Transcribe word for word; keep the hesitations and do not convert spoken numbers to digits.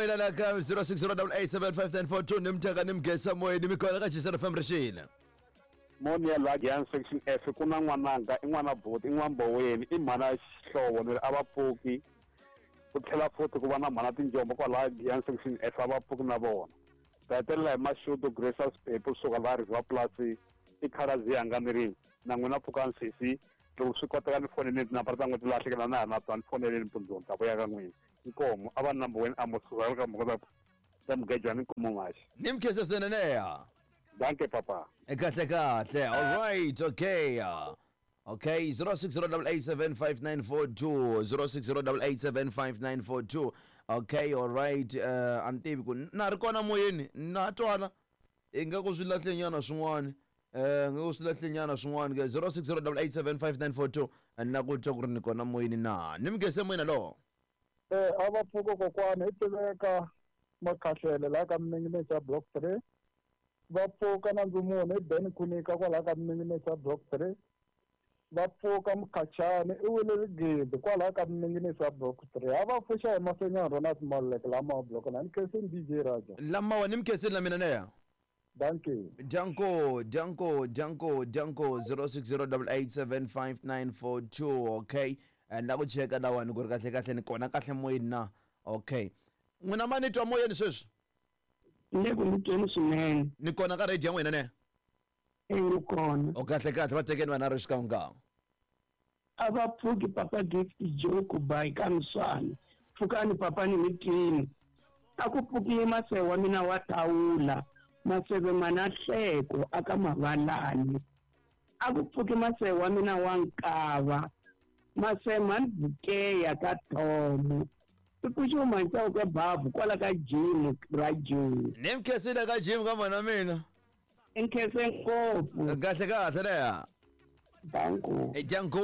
Moyeni la ka zero six zero double eight seven five nine four two ni mthaka ni mugesa moyeni mi kona ka Jisana F M rixile. Moni ya la Giyani section F ku na n'wananga i n'wana buti i n'wamboweni i mhana xihlovo ni ri a va pfuki ku tlhela futhi ku va na mhana tinjombo kwalaya Giyani section F a va pfuki na vona. Ta hetelela hi Mashudu Gracious Pepe kusuka laha River Plus i khalazi yanga ni ri na n'wina pfukani sesi loko swi koteka ni foneleni tinambara ta n'wina ti lahlekela na ha na tona ni foneleni mpundzu ni ta vuya ka n'wina. Inkomo a va number one Amos ka mhaka ta mugejwana inkomo maxi. Ni mkhese swinene. Danke papa. Kahle kahle. All right, okay. Okay, zero six zero double eight seven five nine four two, zero six zero double eight seven five nine four two. Okay, all right. Uh, a ni tivi ku na ri kona moyeni na twala ingaku swi lahle nyana swin'wana. Eh, nga ku swi lahle nyana swin'wana ke zero six zero double eight seven five nine four two. Na ku twa ku ri ni kona moyeni na. Ni mugese moyeni lowo. Eh, a va pfuka kokwana hi tiveka makhahlele laha ka Minginesa block three. Va pfuka na ndzumuno i Ben Khunika kwalaha ka Minginesa block three. Va pfuka Mukhachani i wile Rigidi kwalaha ka Minginesa block three. A va pfuxa hi Masenyana Ronald Maluleke lama block nine. Ni khensini D J Raja. Lamawa ni mkhensini la mina neya. Danke. Danko, danko, danko, danko zero six zero double eight seven five nine four two. Okay. Na ku cheka lawani ku ri kahle kahle ni kona kahle moyeni na. Okay. N'wina ma ni twa moyeni sweswi? Ni le ku mi tweni swinene. Ni kona ka radio ya n'wina ne? E, ni kona. O kahle kahle va tekeni vana ri xikan'we. A va pfuki papa Gift Joke by ka Mswana. Pfukani papa ni mitini. A ku pfuki maseve wa mina wa thawula. Maseve mana hleko aka mavalani. A ku pfuki maseve wa mina wa nkava. Maseve bukeya ka thomo. I pfuxi mantsako ka babu kwala ka gym ra June. Ni mkhensile ka gym ka mhana mina. Nkhense ngopfu. Kahle kahle leya. Danko. Danko.